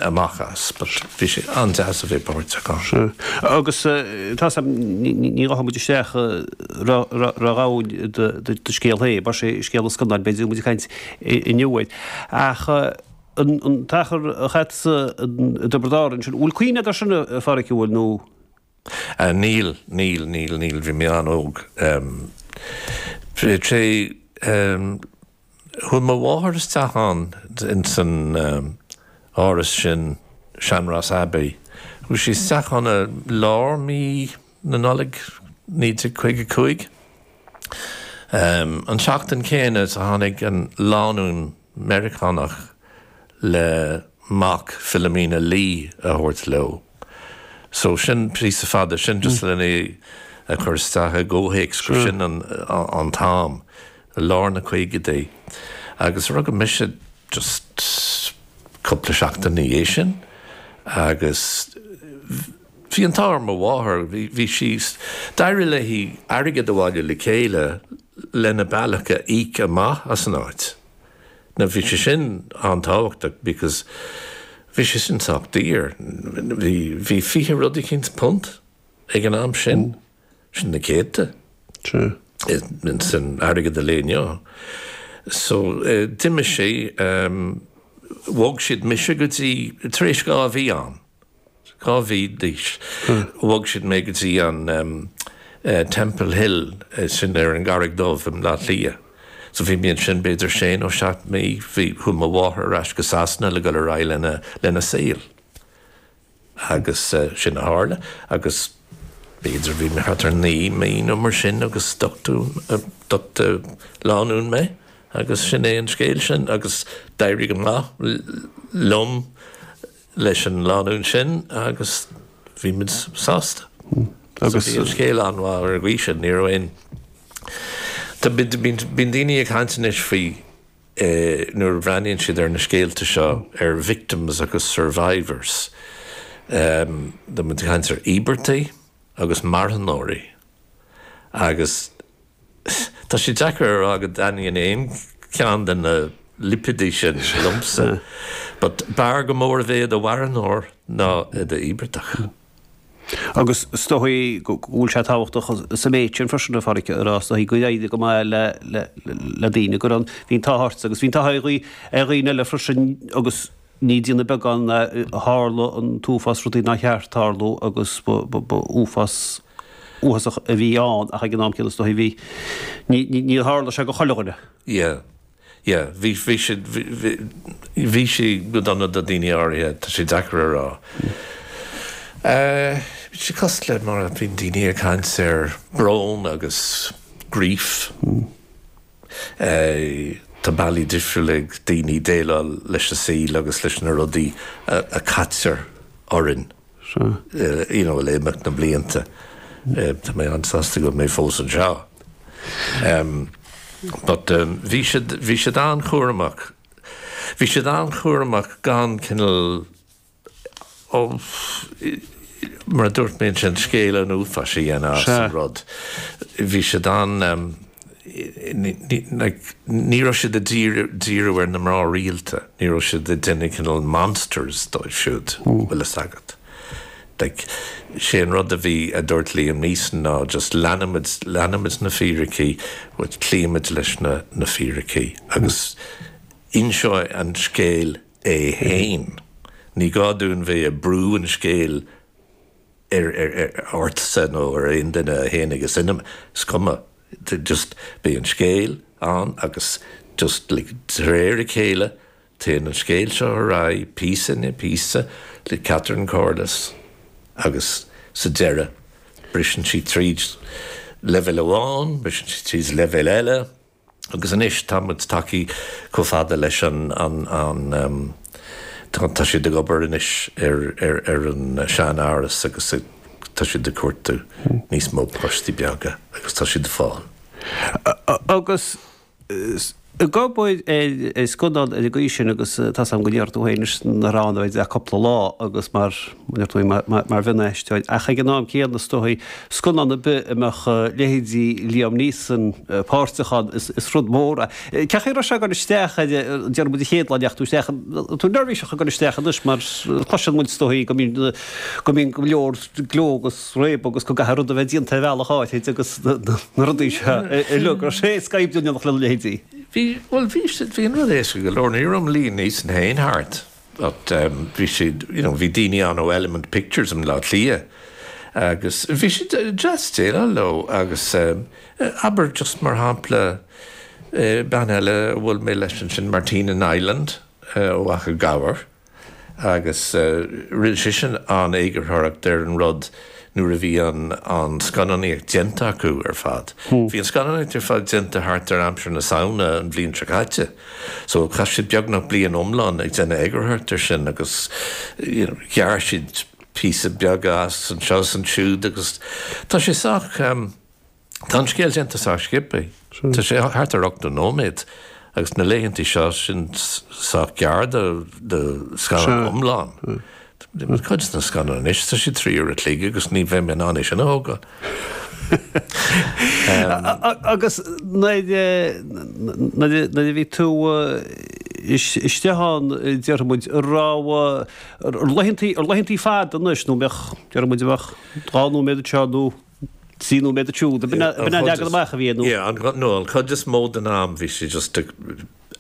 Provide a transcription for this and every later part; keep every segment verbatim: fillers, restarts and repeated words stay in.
Amach as, but bhí sé an-deas a bheith páirteach ann. Agus tá ní rachaidh muid isteach ródhomhain do scéal féin, mar sé scéal an scannáin b'fhéidir muid ag caint inniu air. Ach an t-achar a chaith tusa i dTiobraid Árann sin, bhfuil cuimhne agat air sin a Pháraic, an bhfuil nó? Níl, níl, níl, níl, bhí mé an-óg. Sé chuaigh mo mháthair isteach ann ins an áras sin, Sean-Ross Abbey. Chuaigh sí isteach ann i lár mí na Nollag naoi déag caoga cúig. An tseachtain chéanna is a tháinig an lánúin Meiriceánach le mac Philomena Lee a thabhairt leo. So sin píosa fada, sin just lena é a chur isteach i gcomhthéacs gur sin an an t-am, i lár na caogaidí. Agus rugadh mise just cúpla seachtain ina dhiaidh sin agus bhí an t-ádh ar mo mháthair, bhí bhí sí, d'éirigh léi airgead a bhailiú le chéile lena bealach a íoc amach as an áit. Now bhí sé sin an-tábhachtach because bhí sé sin sách daor. Bhí bhí fiche rud eicínt punt ag an am sin, sin na céadta san airgead an lae inniu. So d'imigh sí, bhog siad mise go dtí, tar éis dhá mhí ann, dhá mhí d'aois, bhog siad mé go dtí an Temple Hill, sin ar an gCarraig Dhubh i mBleá Cliath. So bhí mé ansin b'fhéidir sé nó seacht mí, bhí, chuaigh mo mháthair ar ais go Sasana le dul ar aghaidh lena, lena saol. Agus sin a tharla agus b'fhéidir bhí mé thart ar naoi mí nó mar sin agus d'uchtaigh lánúin mé agus sin é an scéal sin agus d'éirigh go maith liom leis an lánúin sin agus bhí muid sásta. Agus bhí an scéal an-mhaith ar an gcaoi sin, ní raibh aon. Tá, bíonn daoine ag caint anois faoi nuair a bhreathnaíonn siad ar na scéalta seo ar victims agus survivors. Tá muid ag caint ar íobartaigh agus marthanóirí agus tá sé deacair a rá go dtaitníonn aon cheann de na lipéidí sin liomsa. But b'fhearr go mór a bheith i do mharthanóir ná i d'íobartach. Agus is dóigh go bhfuil sé tábhachtach sa méid sin freisin, a Pháraic, a rá, is dóigh go éirigh go maith le le daoine go raibh bhí an t-ádh ort agus bhí an t-ádh ar dhaoine eile freisin agus ní déanamh beagán tharla an t-uafás rudaí nár cheart tarlú agus ba uafás uafásach a bhí ann ach ag an am céanna is dóigh bhí ní níor tharla sé go chuile dhuine. Yeah. Yeah, bhí, bhí sé, bhí sé go dona do daoine áirithe, tá sé deacair a rá. Bhí sé cosúil le mar a bhíonn daoine ag caint ar brón agus grief. Tá bealaí difriúla ag daoine déileáil leis an saol agus leis na rudaí a caitear orainn. You know, le imeacht na blianta. Tá mé an-sásta go bhfuil mé fós anseo. But bhí siad, bhí siad an-chúramach. Bhí siad an-chúramach gan cineál, ó, mar a dúirt mé ansin, scéal an uafáis a dhéanamh as an rud. Bhí siad an, like, ní raibh siad ag díriú ar na mná rialta, ní raibh siad ag déanamh cineál monsters dóibh siúd, bhfuil fhios agat. Like, sé an rud a bhí, a dúirt Liam Neeson ná just leanfaimid, leanfaimid na fíricí, cloímid leis na, na fíricí agus inseoidh an scéal é fhéin. Ní gá dúinn bheith ag brú an scéil ar, ar, ar, ortsa nó ar aon duine a théann ag an cinema, is cuma, just beidh an scéal ann agus just like de réir a chéile Téann an scéal seo ar aghaidh píosa i ndiaidh píosa le Catherine Corless agus sa deireadh briseann sí tríd leibhéal amháin, briseann sí tríd leibhéal eile agus anois tá muid tagtha chomh fada leis an an tá siad ag obair anois ar ar ar an sean-áras agus tá siad ag cuartú níos mó páistí beaga agus tá siad ag fáil. Agus Ag obair ar scannán ar an gcaoi sin agus tá 's agam go ndeir tú féin anois nach raibh ann ach cúpla lá agus mar deir tú mar mhionaisteoir ach ag an am céanna is dóigh scannán ar bith a mbeadh leithéidí Liam Neeson páirteach ann is rud mór é. Cén chaoi a raibh sé ag dul isteach ar déarfaidh muid an chéad lá a ndeachaigh tú isteach tú neirbhíseach ag dul isteach anois mar cloiseann muid is dóigh go mbíonn go mbíonn go leor gleo agus réabadh agus go gcaithfidh rud a bheith déanta ar bhealach áirid agus na rudaí seo uilig. Raibh sé éasca oibriú in éineacht lena leithéidí? Bhí, bhuel bhí siad, bhí an rud éasca go leor, ní raibh Liam Neeson féin thart but um, bhí siad, you know, bhí daoine ann ó Element Pictures i mBleá Cliath agus bhí siad deas déileáil leo agus um, abair just mar shampla uh, bean eile a bhfuil mé leis ansin Martina Nyland uh, ó Achadh Gabhair agus uh, rinne sise an eagarthóireacht ar an rud nuair a bhí an, an scannánaíocht déanta acu ar fad. Hmm. Bhí an scannánaíocht ar fad déanta thart ar aimsir na Samhna an bhliain seo caite. So chaith siad beagnach bliain iomlán ag déanamh eagarthóireacht ar sin agus you know, ghearr siad píosa beag as anseo is ansiúd agus tá sé sách um, Tá an scéal déanta sách sciobtha. Tá sé thart ar ochtó nóiméad agus na laethanta seo sin sách gearr do do scannán iomlán. Cuid na scannáin anois tá sé trí uair a chloig agus ní bheinn in ann é sin a thógáil. Agus nuair a bhí tú istigh ann déarfaidh muid an raibh laethanta fada anois nó mbeadh déarfaidh muid bheadh dhá nóiméad anseo nó trí nóiméad ansiúd. B'in an leagan amach a bhí nó? Yeah, no, an chuid is mó den am bhí sé just ag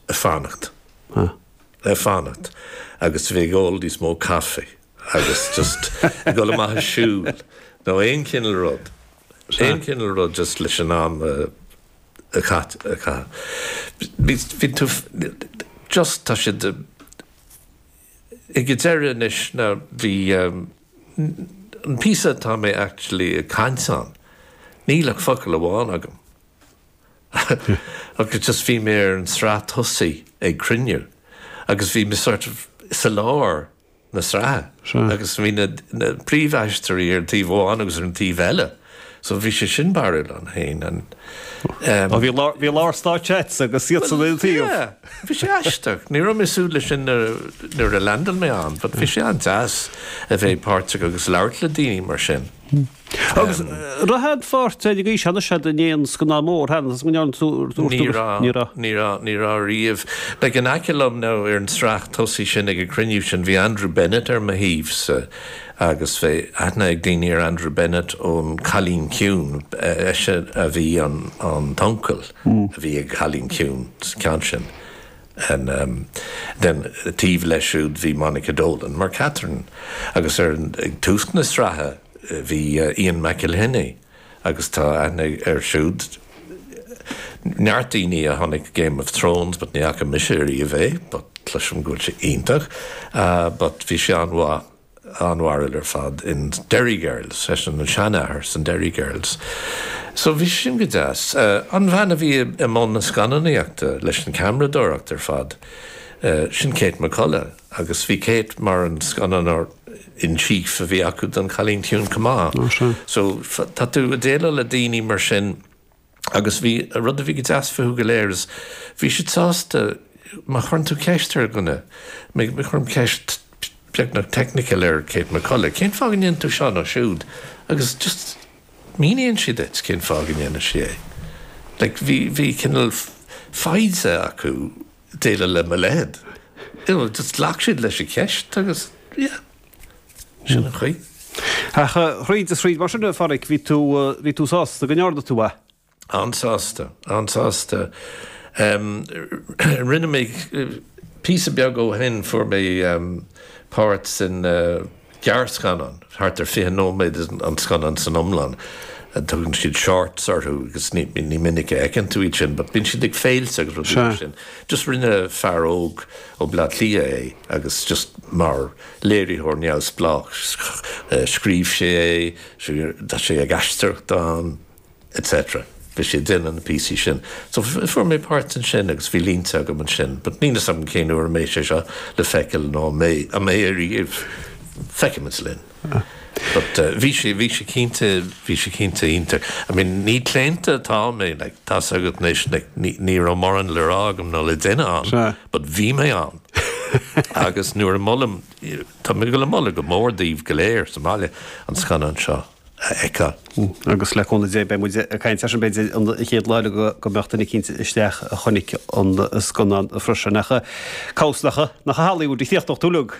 fanacht. Ag fanacht agus bhí ag ól níos mó caife agus just ag dul amach ag siúl nó aon chineál rud. Aon chineál rud just leis an am a chaitheamh. Bhí tú just tá siad ag deireadh anois na bhí an píosa atá mé actually ag caint ann, níl ach focal amháin agam. Agus just bhí mé ar an sraith tosaigh ag cruinniú agus bhí mé sort of sa lár na sraithe agus bhí na, na príomhaisteoirí ar an taobh amháin agus ar an taobh eile. So bhí sé sin barrúil ann féin. And, um, bhí lár, bhí lár stáitse agus iad san aon taobh. Yeah, bhí sé aisteach. Ní raibh mé ag súil leis sin nuair a landáil mé ann, but bhí sé an-deas a bheith páirteach agus labhairt le daoine mar sin. Agus raibh aon pháirt ag aois cheana siad in aon scannán mór cheana is go ndearna tú Ní raibh, ní raibh, ní raibh, ní raibh riamh. Like in aice liom now ar an tsraith tosaigh sin ag an cruinniú sin bhí Andrew Bennett ar mo thaobhsa agus bhí aithne ag daoine ar Andrew Bennett ón Cailín Ciúin, eisean a bhí an an t-uncail a bhí ag Cailín Ciúin sa ceann sin. And um, then taobh leis siúd bhí Monica Dolan mar Catherine agus ar an ag tús na sraithe bhí uh, Ian McElhinney agus tá aithne air siúd neart daoine a chonaic Game of Thrones, but ní fhaca mise riamh é, but cloisim go bhfuil sé iontach, uh, but bhí sé an-mhaith an-bharúil ar fad in Derry Girls, eisean an seanathair san Derry Girls. So bhí sin go deas. Uh, an bhean a bhí i mbun na scannánaíochta leis an ceamaradóireacht ar fad, uh, sin Kate McCullough, agus bhí Kate mar an scannánóir in chief a bhí acu don Cailín Ciúin chomh maith. So tá tú ag déileáil le daoine mar sin agus bhí rud a bhí go deas fúthu go léir is bhí siad sásta má chuireann tú ceist ar dhuine, mé chuirim ceist beagnach technical ar Kate McCullough, cén fáth go ndéanann tú seo nó siúd agus just míníonn sí duit cén fáth go ndéanann sí é. Like, bhí bhí cineál foighde acu déileáil le mo leithéid. You know, just ghlac siad leis an cheist agus yeah. Sin an chaoi. Ach thríd is thríd mar sin a Pháraic, bhí tú bhí tú sásta go ndearna tú é? An-sásta, an-sásta. Um, rinne mé píosa beag ó shin fuair mé um, páirt sin uh, gearrscannán, thart ar fiche nóiméad an scannán san iomlán. Tugann siad shorts orthu agus ní, ní minic a fheiceann tú iad sin, but bíonn siad ag féilte agus rudaí mar sin. Just rinne fear óg ó Bleá Cliath é agus just mar léiritheoir neamhspleách scríobh sé é, tá sé ag aisteoireacht ann, etc. Bhí sé déanamh na píosaí sin. So fuair mé páirt ansin agus bhí línte agam ansin, but níl fhios agam cén uair a mbeidh sé seo le feiceáil nó mé a mbeidh ariamh feicfimid linn. But uh, bhí sé bhí sé cinnte bhí sé cinnte iontach. I mean ní claonta atá mé like, tá agat anois like, ní ní raibh mórán le rá agam nó le déanamh ann, but bhí mé ann. Agus nuair a molaim tá mé le moladh go mór daoibh go léir sa mbaile an scannán seo a fheiceáil. Agus le cúnamh Dé beidh muid ag caint sin b'fhéidir an chéad lá go go mbeadh duine cinnte isteach a chonaic an scannán freisin nach cabhsnacha nach hallaí bhfuil de chríochtach túlug.